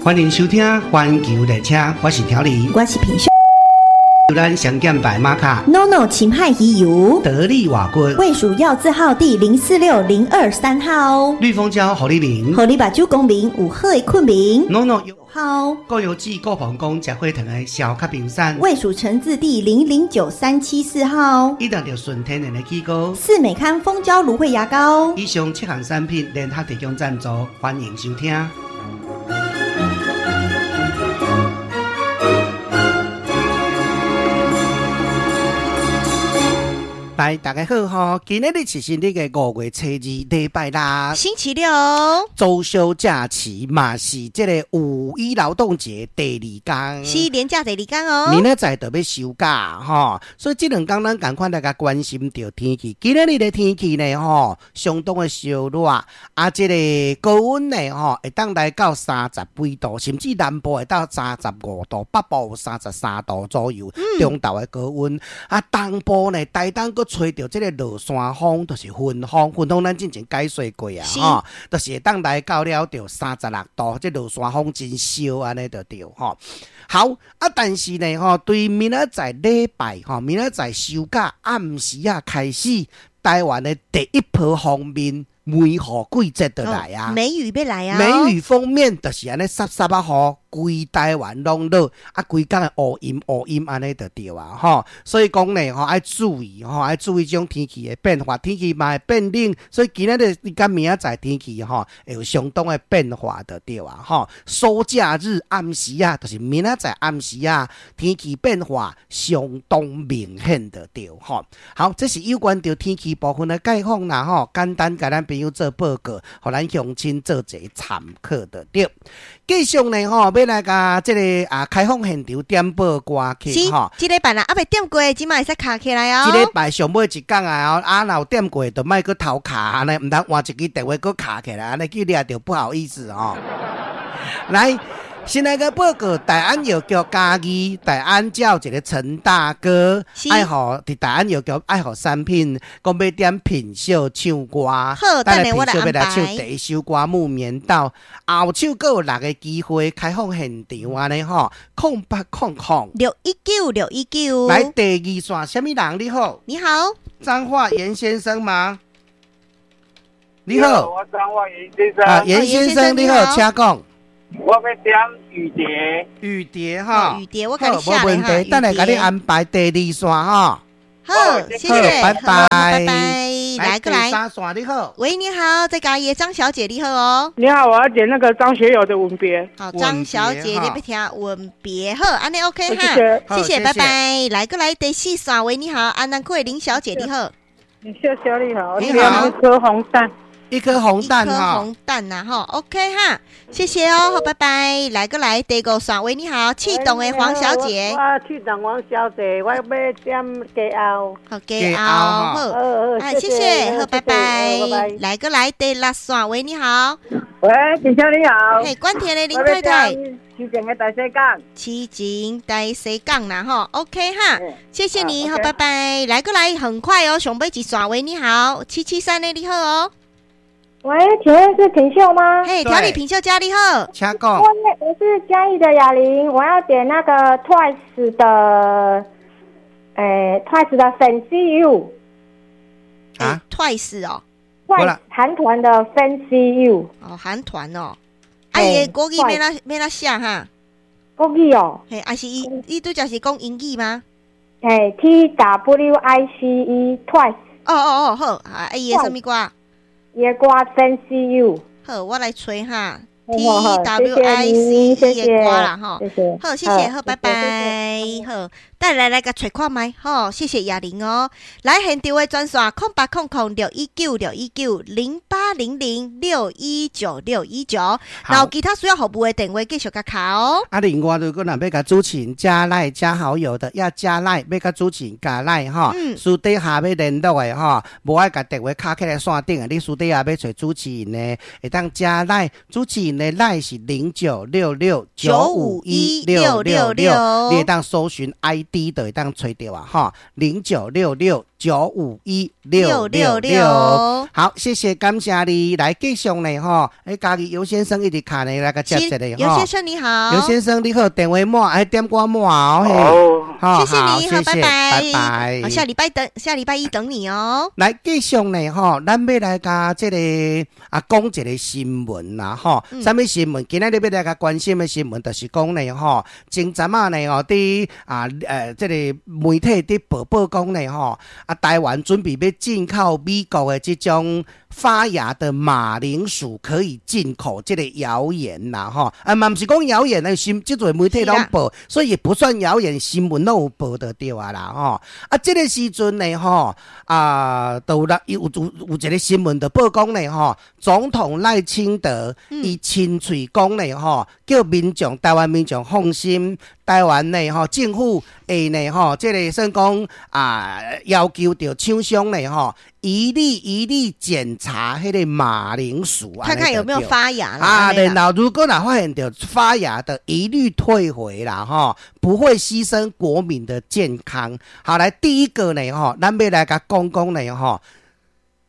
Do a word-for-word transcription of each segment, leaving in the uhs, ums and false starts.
歡迎收聽《環球列車》，我是調理，我是品秀。咱上減白馬卡，NONO 秦派魚油，得力瓦骨，衛署藥字號第零四六零二三號，綠蜂膠予你眠，予你目睭光明，有好的睏眠，NONO 好，高油脂高膀胱食火糖的消卡冰山，衛署成字第零零九三七四號，一旦著純天然的起膏，四美康蜂膠蘆薈牙膏，以上七項產品聯合提供贊助，歡迎收聽。來，大家好吼！今仔日是新曆的五月初二，禮拜六，星期六，周休假期嘛是這个五一勞動節第二天，是連假第二天哦。明仔載就欲收假吼，所以這兩天咱仝款來共關心著天氣。今仔日的天氣呢吼，相當的燒熱，啊，這个高溫呢吼，會當來到三十幾度，甚至南部會到三十五度，北部有三十三度左右。中晝的高溫，啊，東部呢，台東閣吹著這个落山風，就是雲風，雲風咱之前解說過啊，吼，就是會當來到了著三十六度，這落山風真燒按呢就對吼。好啊，但是呢吼，對明仔載禮拜吼，明仔載收假暗時仔開始，台灣的第一波鋒面梅雨季節就來啊，梅雨欲來啊，梅雨鋒面就是按呢澀澀仔雨，規台灣攏落，啊，規工的烏陰烏陰按呢就對啊，吼，所以講呢，吼愛注意，吼愛注意這種天氣的變化，天氣嘛會變冷，所以今仔日佮明仔載天氣吼會有相當的變化就對啊，吼，暑假日暗時仔，就是明仔載暗時仔，天氣變化相當明顯就對，吼。好，這是有關著天氣部分的概況啦，吼，簡單共咱朋友做報告，予咱鄉親做一个參考就對。繼續呢，吼，欲來共這个啊開放現場點播歌曲吼。這禮拜啦，猶未點過，這馬會使敲起來哦。這禮拜上尾一工啊，啊，若有點過，就莫閣偷敲按呢，毋通換一支電話閣敲起來，按呢去掠著不好意思哦。來，先來個報告，大安藥局嘉義大安遮有一个陳大哥，愛予佇大安藥局愛予產品，講欲點品秀唱歌，好，等下我來品秀欲來唱第一首歌《木棉道》，後手閣有六个機會開放現場按呢吼，空八空空六一九六一九。來第二線，啥物人你好？你好，張化嚴先生嗎？你好，我張化嚴先生。啊，嚴先生你好，請講。我欲點雨蝶，雨蝶哈，雨蝶我共你寫無問題，等下共你安排第二線哈。好，謝謝，拜拜，拜拜，來過來。第三線你好，喂，你好，在嘉義的張小姐你好哦。你好，我要點那個張學友的《吻別》。好，張小姐你欲聽《吻別》好，按呢 OK 哈，謝謝，拜拜。來過來第四線，喂，你好，安南區的林小姐你好。謝謝你好，你好，一顆紅蛋。一顆紅蛋哈，一顆紅蛋呐哈，OK 哈，謝謝哦，好，拜拜。來過來，第五線，喂，你好，刺桐的黃小姐。我刺桐黃小姐，我欲點家後。好，家後，好，哎，謝謝，好，拜拜。來過來，第六線，喂，你好。喂，陳小你好。嘿，關田的林太太。痴情的大西港。痴情大西港啦吼，OK 哈，謝謝你，好，拜拜。來過來，很快哦，上尾一線，喂，你好，七七三的你好哦。喂，請問是品秀嗎？嘿，調理品秀家你好，請講。我我是嘉義的雅玲，我要點那個 Twice 的，欸，Twice 的 Fancy You。啊，Twice 哦，Twice 韓團的 Fancy You。哦，韓團哦，啊，伊的國語欲怎欲怎寫哈？國語哦。嘿，啊是伊伊拄才是講英語嗎？嘿，T W I C E Twice。哦哦哦，好，啊，伊的啥物歌？伊的歌 Fancy You。好，我來揣哈 T W I C E 的歌啦吼。好，謝謝，好，拜拜。好，等來來共揣看覓，好，謝謝雅玲哦。來現場的專線空八空空六一九六一九零八零零六一九六一九。然後其他需要服務的電話繼續共敲哦。啊，另外如果若欲共主持人加 LINE 加好友的，要加 LINE，欲共主持人加 LINE 吼。私底下欲聯絡的吼，無愛共電話敲起來線頂的，你私底下欲揣主持人的，會當加 LINE，主持人的 LINE 是零九六六九五一六六六，你會當搜尋 I D 就會當揣著啊，吼，零九六六九五一六六六。好，謝謝，感謝你來繼續呢吼。欸，家己尤先生一直卡呢，來共接一下尤先生你好，尤先生你好，電話滿，愛點歌滿哦。好，謝謝你，好，拜拜，拜拜。好，下禮拜等，下禮拜一等你哦。來繼續呢吼，咱欲來共這个啊講一个新聞啦吼。啥物新聞？今仔日欲來共關心的新聞，就是講呢吼，前陣仔呢吼，佇啊呃這个媒體佇報報講呢吼，啊台灣準備欲進口美國的這種發芽的馬鈴薯可以進口，這个謠言啦吼，啊嘛毋是講謠言呢，新這濟媒體攏報，所以也不算謠言，新聞攏有報著對啊啦吼。啊，這个時陣呢吼，啊，都有有有有一个新聞就報講呢吼，總統賴清德伊親喙講呢吼，叫民眾台灣民眾放心，台灣呢吼政府會呢吼，這个算講啊要求著廠商呢吼，一粒一粒檢查彼个馬鈴薯，看看有沒有發芽啊。然後如果若發現著發芽的，一律退回啦吼，不會犧牲國民的健康。好，來第一個呢吼，咱欲來共講講呢吼，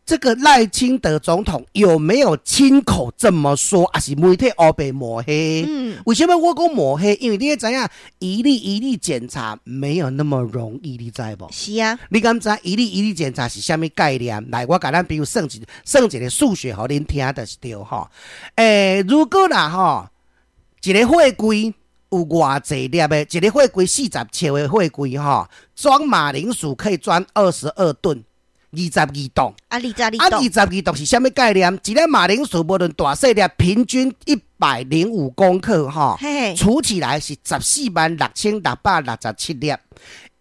這個賴清德總統有沒有親口這麼說？抑是媒體烏白抹黑？嗯，為什麼我講抹黑？因為你知影，一粒一粒檢查沒有那麼容易，你知無？是啊，你敢知一粒一粒檢查是啥物概念？來，我共咱比如算一算一个數學，予恁聽就是對吼。欸，如果啦吼，一个貨櫃有偌濟粒的，一个貨櫃四十尺的貨櫃吼，裝馬鈴薯可以裝二十二噸。二十二噸，啊，二十二啊，二十二噸是啥物概念？一粒馬鈴薯無論大細粒，平均一百零五公克，哈，除起來是十四萬六千六百六十七粒。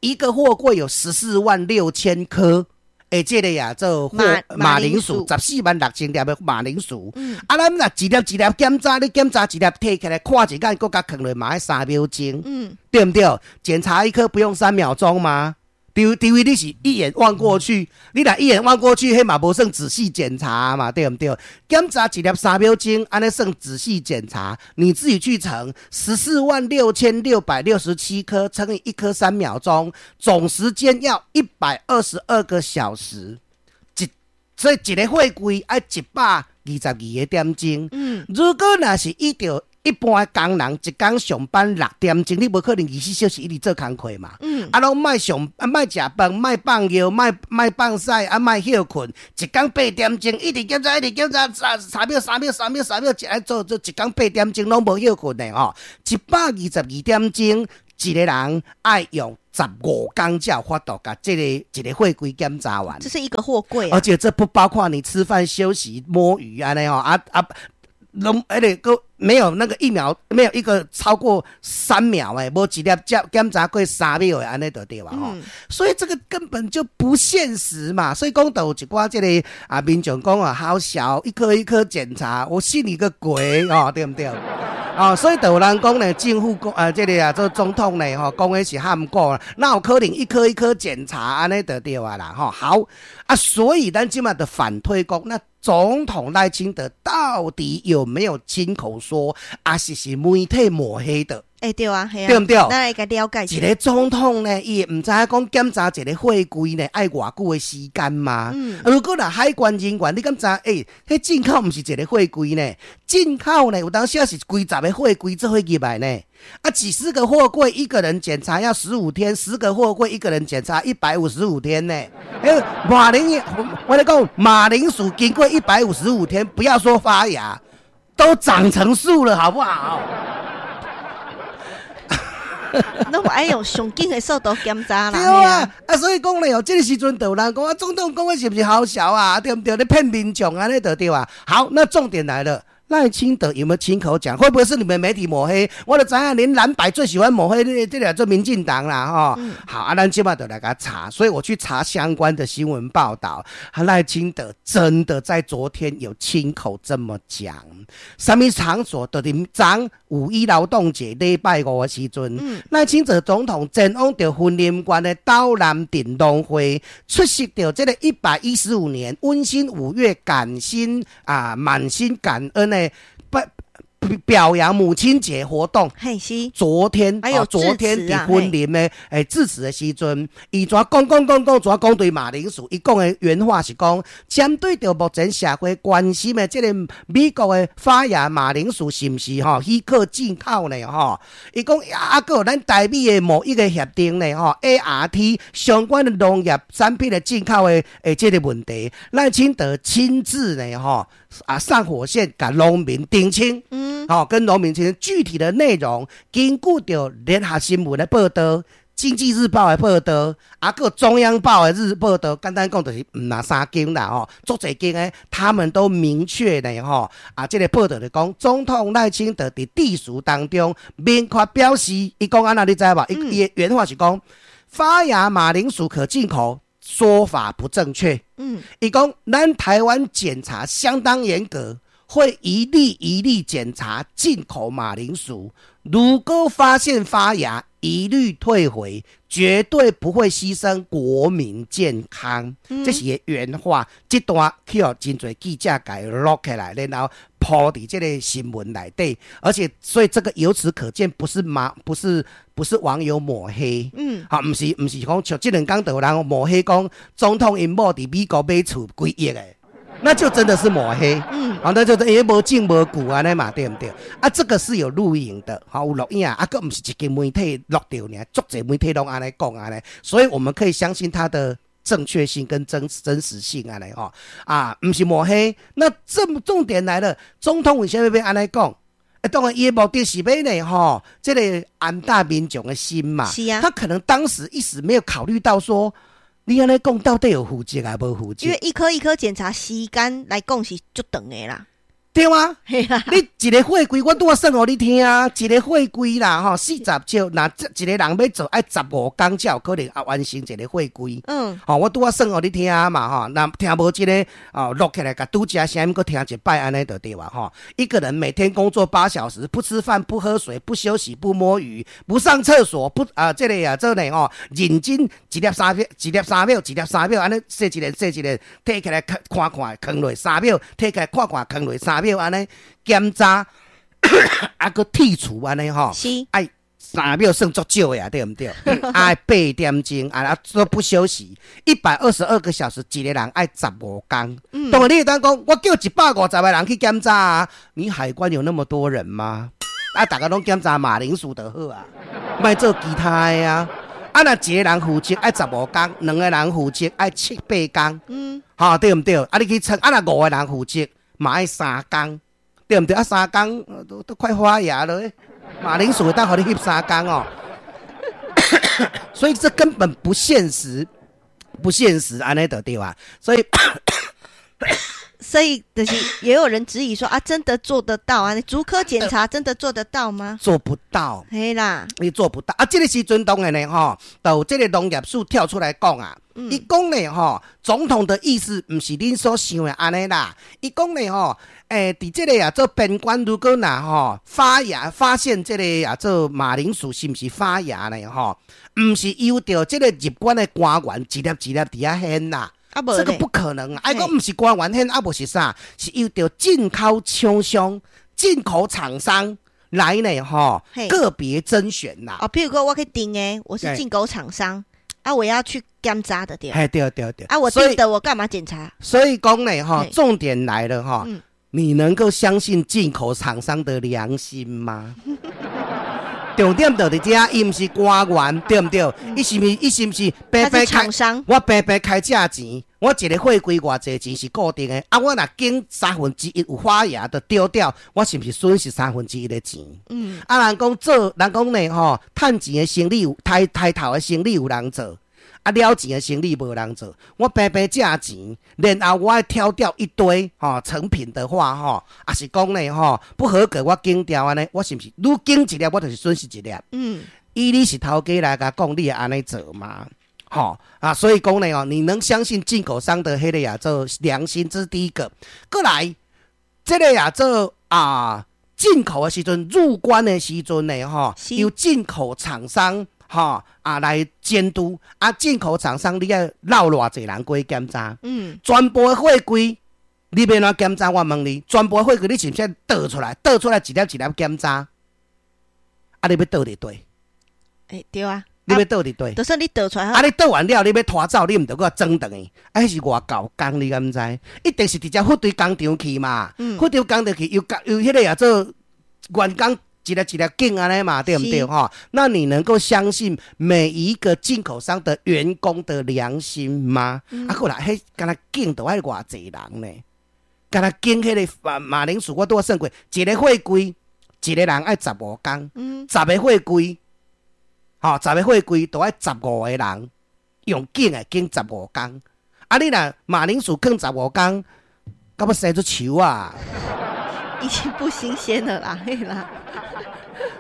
一個貨櫃有十四萬六千顆，欸，這个呀做貨馬鈴薯，十四萬六千粒的馬鈴薯。嗯，啊，咱若一粒一粒檢查，你檢查一粒提起來看一眼，閣共囥落嘛愛三秒鐘，嗯，對毋對？檢查一顆不用三秒鐘嗎？除除非你是一眼望過去，你若一眼望過去，彼嘛無算仔細檢查嘛，對毋對？檢查一粒三秒鐘，按呢算仔細檢查，你自己去乘十四萬六千六百六十七顆，乘以一顆三秒鐘，總時間要一百二十二個小時。一所以一个貨櫃愛一百二十二個點鐘。嗯，如果若是依著一般的工人一工上班六點鐘，你無可能二十四小時一直做工課嘛。嗯，啊，攏莫上啊，莫食飯，莫放尿，莫莫放屎，啊，莫歇睏，一工八點鐘一直檢查，一直檢查，三三秒、三秒、三秒、三秒，一來做做一工八點鐘攏無歇睏的吼。一百二十二點鐘，一个人愛用十五工才有法度共這个一个貨櫃檢查完。這是一個貨櫃，而且這不包括你吃飯、休息、摸魚按呢吼啊啊。攏彼个閣沒有那個一秒，沒有一個超過三秒誒，無一粒檢檢查過三秒的按呢就對啊吼。所以這個根本就不現實嘛。所以講著有一寡這個啊民眾講啊，好笑，一顆一顆檢查，我信你個鬼哦，對毋對？哦，所以就有人講呢，政府講啊，這个啊做總統呢，吼，講的是譀古，哪有可能一顆一顆檢查按呢就對啊啦，吼。好啊，所以咱這馬就反推講，那總統賴清德到底有沒有親口說，抑是是媒體抹黑的？欸，對啊，對毋對？咱來共了解一个總統呢，伊會毋知影講檢查一个貨櫃呢，愛偌久的時間嗎？嗯，如果若海關人員，你敢知？欸，彼進口毋是一个貨櫃呢，進口呢有當時是幾十个貨櫃做伙入來呢。啊，幾十個貨櫃一個人檢查要十五天，十個貨櫃一個人檢查一百五十五天呢。欸，馬鈴，我咧講馬鈴薯經過一百五十五天，不要說發芽，都長成樹了，好不好？攏愛用上緊的速度檢查啦。對啊，啊，所以講咧哦，這个時陣就有人講啊，總統講的是毋是好笑啊？對毋對？咧騙民眾按呢就對啊。好，那重點來了。賴清德有沒有親口講？會不會是你們媒體抹黑？我就知影，連藍白最喜歡抹黑，這這兩做民進黨啦，吼。嗯、好，啊，咱這馬就來共查，所以我去查相關的新聞報道。賴清德真的在昨天有親口這麼講。啥物場所？就佇昨五一勞動節禮拜五的時陣，賴、嗯、清德總統前往著雲林縣的斗南鎮農會出席著這個一百一十五年溫馨五月感心啊，滿心感恩的。不表揚母親節活動。嘿是。昨天，還有昨天佇雲林的欸致辭的時陣，伊怎講講講講，怎講對馬鈴薯，伊講的原話是講，針對著目前社會關心的這个美國的發芽馬鈴薯是毋是吼許可進口呢？吼，伊講啊，閣有咱台美的貿易的協定呢？吼，A R T 相關的農業產品的進口的的這个問題，賴清德親自呢？吼啊上火線，共農民澄清，嗯，吼，跟農民澄清具體的內容，根據著聯合新聞的報道，經濟日報的報道，啊，閣中央報的日報道，簡單講就是毋若三間啦吼，足濟間的，他們都明確的吼，啊，這个報道就講，總統賴清德佇致辭當中明確表示，伊講按怎你知無？伊伊的原話是講，發芽馬鈴薯可進口，說法不正確。嗯，伊講咱台灣檢查相當嚴格，會一例一例檢查進口馬鈴薯，如果發現發芽，一律退回，絕對不會犧牲國民健康。嗯，這是伊原話。這段去予真濟記者共錄起來，然後鋪佇這个新聞內底，而且所以這個由此可見，不是馬，不是不是網友抹黑，嗯，啊，毋是毋是講像這兩工就有人抹黑講總統𪜶某佇美國買厝幾億的，那就真的是抹黑，嗯，啊，那就因為無證無據按呢嘛，對毋對？啊，這個是有錄影的，好有錄影，啊，閣毋是一間媒體錄著爾，足濟媒體攏按呢講按呢，所以我們可以相信他的正確性跟真真實性按呢吼，啊，毋是抹黑。那這麼重點來了，總統為啥物欲按呢講？欸，當然，伊的目的是欲呢吼，這个安撫民眾的心嘛。是啊。他可能當時一時沒有考慮到說，你按呢講到底有負責抑無負責？因為一顆一顆檢查時間來講是足長的啦。對啊，嘿啦，你一个貨櫃，我拄仔算予你聽啊，一个貨櫃啦，吼，四十尺，若一个人欲做，愛十五工才有可能啊完成一个貨櫃。嗯，吼，我拄仔算予你聽嘛，吼，若聽無這个哦，錄起來，共拄才聲音閣聽一擺，按呢就對啊，吼。一個人每天工作八小時，不吃飯、不喝水、不休息、不摸魚、不上廁所，不啊，這个啊，這个吼，認真一粒三秒，一粒三秒，一粒三秒，按呢洗一个，洗一个，提起來看看，囥落三秒，提起來看看，囥落三秒，按呢檢查，啊，閣剔除按呢吼，是，愛三秒算足少的啊，對毋對？愛八點鐘，啊，都不休息，一百二十二個小時，一個人愛十五工。嗯，當然你會當講，我叫一百五十個人去檢查啊，你海關有那麼多人嗎？啊，逐家攏檢查馬鈴薯就好啊，莫做其他的啊。啊，若一個人負責愛十五工，兩個人負責愛七八工，嗯，吼，對毋對？啊，你去稱，啊，若五個人負責嘛愛三工，對毋對？啊，三工都都快發芽了，馬鈴薯會當予你翕三工哦。所以這根本不現實，不現實，按呢就對啊。所以，所以就是也有人質疑說啊，真的做得到啊？逐顆檢查真的做得到嗎？做不到，嘿啦，你做不到啊！這个時陣當然呢，吼，就這个農業署跳出來講啊，伊講呢，吼，總統的意思毋是恁所想的按呢啦。伊講呢，吼，欸，佇這个啊做邊關，如果若吼發芽，發現這个啊做馬鈴薯是毋是發芽呢？吼，毋是由著這个入關的官員一粒一粒佇遐驗啦。啊，這個不可能啊！啊，講毋是官員驗，啊，無是啥？是由著進口廠商、進口廠商來呢，吼，個別甄選啦。哦，譬如講我去訂的，我是進口廠商，啊，我要去檢查的對。嘿，對對對。啊，我訂的，我幹嘛檢查？所以講呢，吼，重點來了，吼，你能夠相信進口廠商的良心嗎？重點就佇遮，伊毋是官員，對毋對？伊是毋是？伊是毋是白白開？我白白開這錢，我一个貨櫃偌濟錢是固定的。啊，我若檢三分之一有發芽就丟掉，我是毋是損失三分之一的錢？嗯。啊，人講做，人講呢吼，趁錢的生意有，刣刣頭的生意有人做，啊，了錢的生意無人做。我白白借錢，然後我愛挑掉一堆吼成品的話吼，抑是講呢吼不合格，我檢掉按呢，我是毋是愈檢一粒，我就是損失一粒？嗯。以你是頭家來共講，你會按呢做嗎？吼啊，所以講呢哦，你能相信進口商的彼个啊做良心，這是第一個。過來，這个啊做啊進口的時陣，入關的時陣呢吼，由進口廠商吼啊來監督啊，進口廠商你愛繞偌濟人過檢查？嗯，全部的貨櫃你欲按怎檢查？我問你，全部貨櫃你是毋是倒出來？倒出來一粒一粒檢查，啊，你欲倒佇佗？欸，對啊。你欲倒佇佗？就算你倒出來，啊，你倒完了，你欲拖走，你毋著閣裝轉去？啊，彼是偌厚工，你敢知？一定是直接貨堆工廠去嘛。貨堆工廠去，又又彼個也做員工一粒一粒揀按呢嘛，對毋對？吼，那你能夠相信每一個進口商的員工的良心嗎？啊，過來，彼敢若揀著愛偌濟人呢？敢若揀彼個馬馬鈴薯，我拄仔算過，一個貨櫃，一個人愛十五工，十個貨櫃，吼，十個貨櫃都愛十五個人用揀的揀十五工。啊，你若馬鈴薯囥十五工，到欲生出樹啊！已經不新鮮了啦，嘿啦。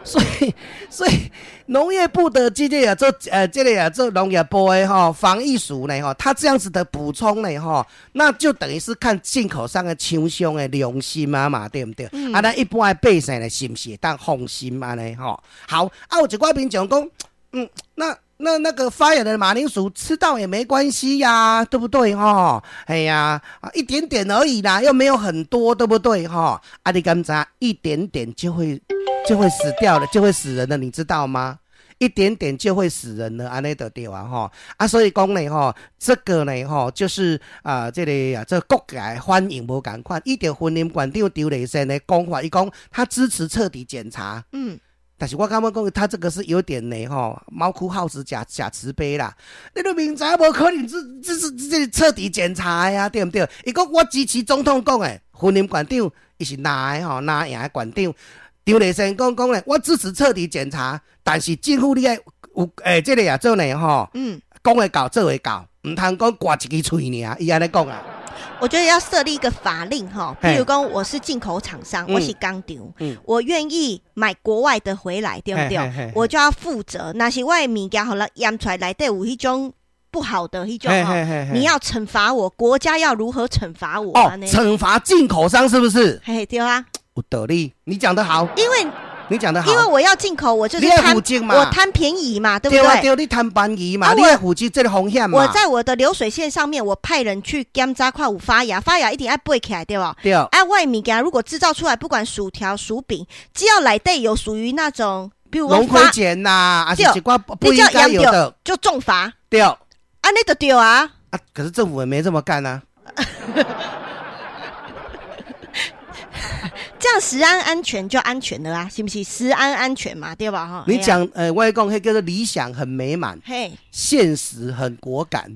所以，所以農業部的這個啊做呃，這個啊做農業部的吼防疫署呢吼，他這樣子的補充呢吼，那就等於是看進口商的廠商的良心啊嘛，對毋對？嗯、啊，咱一般的百姓呢，是毋是會當放心按呢吼？好，啊，有一寡民眾講，嗯，那那那個發芽的馬鈴薯吃到也沒關係呀，對不對？吼，哎呀，一點點而已啦，又沒有很多，對不對？吼，啊，你敢知一點點就會就會死掉了，就會死人的，你知道嗎？一點點就會死人了，按呢就對啊，吼啊，所以講呢，吼，這個呢，吼，就是啊，這個啊，這個國界反應無仝款，依著雲林縣長張麗善的講法，伊講他支持徹底檢查，嗯。但是我感覺講，他這個是有點呢，吼，貓哭耗子假假慈悲啦。你都明知無可能，這這是這徹底檢查呀，對毋對？伊講我支持總統講的，雲林縣長伊是藍的吼，藍營的縣長。張麗善講講咧，我支持徹底檢查，但是政府你愛有欸，這個也做呢吼，嗯，講會到做會到，毋通講掛一支喙爾，伊按呢講啊。我覺得要設立一個法令哈，譬如講我是進口廠商，我是工廠，我願意買國外的回來，對不對？我就要負責。若是我的物件予人驗出來內底有彼種不好的彼種哈，你要懲罰我，國家要如何懲罰我？哦，懲罰進口商是不是？嘿，對啊。有道理，你講得好。因為你講得好，因為我要進口，我就是貪，我貪便宜嘛，對不對？對啊，對，你貪便宜嘛，你愛負責這個風險嘛。我在我的流水線上面，我派人去檢查看有發芽，發芽一定愛背起來，對吧？對。啊，我的物件如果製造出來，不管薯條、薯餅，只要內底有屬於那種，比如龍葵鹼吶，還是一寡不應該有的，就重罰。對。啊，那就對啊。啊，可是政府也沒這麼幹啊。這樣食安安全就安全了啊，是不是？食安安全嘛，對吧？哈，你講，呃，我講，彼叫做理想很美滿，嘿，現實很果敢。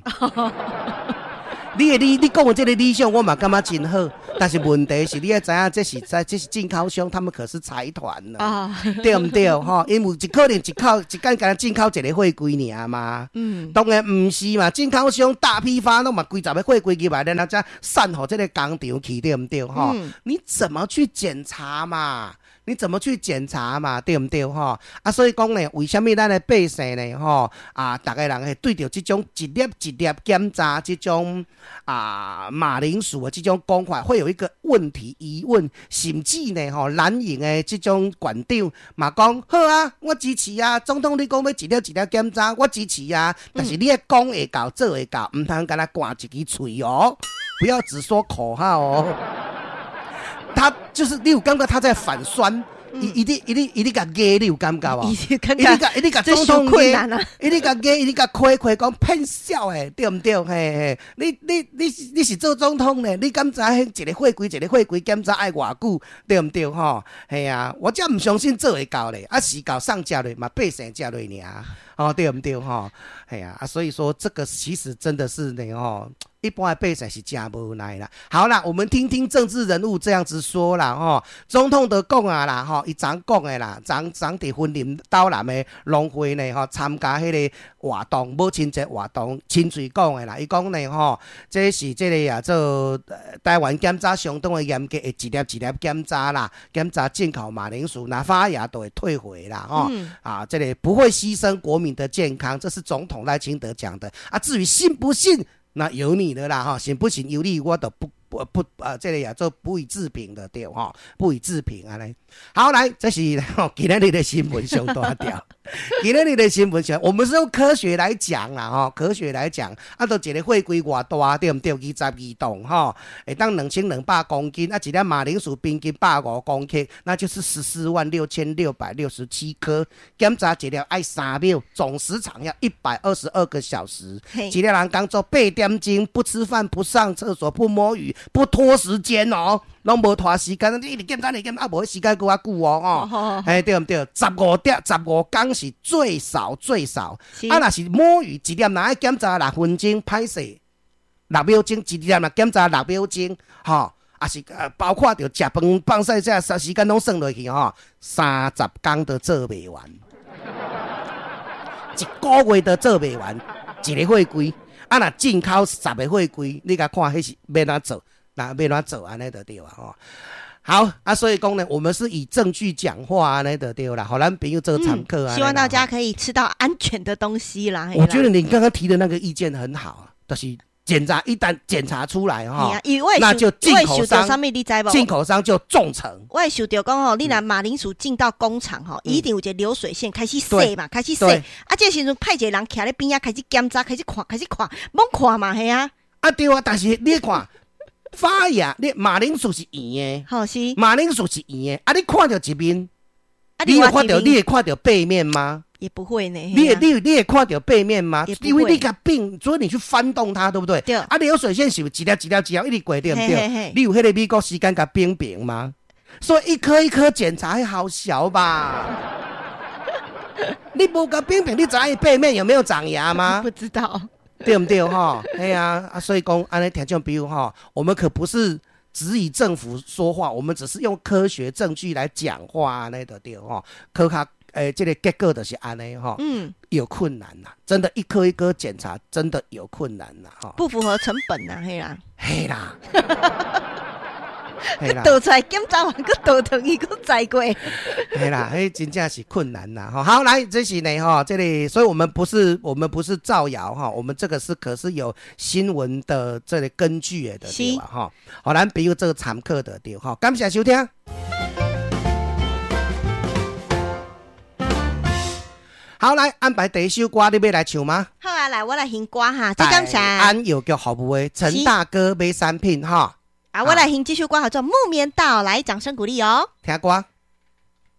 你的理，你講的這個理想，我嘛感覺真好，但是問題是，你愛知影，這是在這是進口商，他們可是財團呢，對毋對？吼，因為一可能一口一間干進口一個貨櫃爾嘛，嗯，當然毋是嘛，進口商大批發攏嘛幾十個貨櫃入來，然後才散予這個工廠去，對毋對？吼，你怎麼去檢查嘛？你怎麼去檢查嘛？對毋對？吼啊，所以講呢，為啥物咱的百姓呢？吼啊，逐个人會對著這種一粒一粒檢查這種啊馬鈴薯的這種講法，會有一個問題疑問，甚至呢，吼藍營的這種縣長嘛講好啊，我支持啊，總統你講欲一粒一粒檢查，我支持啊，但是你愛講會到做會到，毋通干焦掛一支喙哦，不要只說口號哦。他就是你有感覺他在反酸，伊伊咧伊咧伊咧共壓，你有感覺無？伊咧共伊咧共總統壓，伊咧共壓，伊咧共開開講騙笑的，對毋對？嘿嘿，你你你你是做總統呢？你敢知彼一個貨櫃一個貨櫃檢查愛偌久？對毋對？吼，嘿啊，我才毋相信做會到咧，啊是到送食落嘛，百姓食落爾，哦，對毋對？吼，嘿啊，啊所以說這個其實真的是呢，吼。一般的百姓是真無奈啦。好啦，我們聽聽政治人物這樣子說啦，吼，總統都講啊啦，吼，伊昨講的啦，昨昨佇雲林斗南的農會呢，吼，參加彼個活動，母親節活動，親喙講的啦。伊講呢，吼，這是這個啊，做台灣檢查相當的嚴格，會一粒一粒檢查啦，檢查進口馬鈴薯，若發芽都會退回啦，吼，嗯、啊，這個不會犧牲國民的健康，這是總統賴清德講的。啊，至於信不信？那由你的啦，吼，信不信由你，我都不不不啊，這個也做不予置評的對吼，不予置評按呢。好，來，這是今仔日的新聞上大條。今仔日的新聞上，我們是用科學來講啦，吼，科學來講，啊，都一個貨櫃偌大，對毋對？二十二噸，吼，會當兩千兩百公斤，啊，一粒馬鈴薯平均百五公克，那就是十四萬六千六百六十七顆。檢查一粒愛三秒，總時長要一百二十二個小時。一个人工作八點鐘，不吃飯、不上廁所、不摸魚、不拖時間哦，攏無拖時間，你一直檢查、一直檢查，啊，無時間閣較久哦，吼，嘿，對毋對？十五點、十五工是最少最少，啊，若是摸魚一粒，若愛檢查六分鐘，歹勢六秒鐘，一粒若檢查六秒鐘，吼，啊是包括著食飯、放屎這時間攏算落去吼，三十工都做袂完，一個月都做袂完，一个貨櫃，啊，若進口十个貨櫃，你共看彼是欲按怎做？那欲按怎做按呢就對啊吼。好啊，所以講呢，我們是以證據講話按呢就對啦，予咱朋友做參考啊。希望大家可以吃到安全的東西啦。我覺得你剛剛提的那個意見很好，就是檢查一旦檢查出來哈，那就進口商進口商就重懲。我會想著講吼，你若馬鈴薯進到工廠吼，一定有一個流水線開始洗嘛，開始洗。啊，這時陣派一個人徛咧邊仔開始檢查，開始看，開始看，罔看嘛係啊。啊對啊，但是你看。發芽，你馬鈴薯是圓的，好是。馬鈴薯是圓的，啊，你看著一面，你會看著，你會看著背面嗎？也不會呢。你會你你會看著背面嗎？因為你共反，所以你去翻動它，對不對？對。啊，流水線是一粒一粒一粒一直過，對毋對？你有彼個美國時間共平平嗎？所以一顆一顆檢查好小吧？你無共反平，你知影背面有沒有長芽嗎？不知道。對毋對吼？嘿啊，啊，所以講按呢聽眾朋友吼，我們可不是只以政府說話，我們只是用科學證據來講話按呢就對吼。科學誒，這個結果就是按呢吼。嗯，有困難啦，真的，一顆一顆檢查真的有困難啦，吼。不符合成本呐，嘿啦。嘿啦。倒出來檢查完，閣倒轉去，閣再過。嘿啦，彼真正是困難啦。吼，好，來，這是呢，吼，這裡，所以我們不是，我們不是造謠哈，我們這個是可是有新聞的這個根據的，對吧？吼，予咱朋友做參考的對，吼，感謝收聽。好，來安排第一首歌，你欲來唱嗎？好啊，來，我來獻歌哈，這感謝安藥局服務的陳大哥買產品哈。啊，我來獻這首歌叫做《木棉道》，來，掌聲鼓勵哦。聽歌。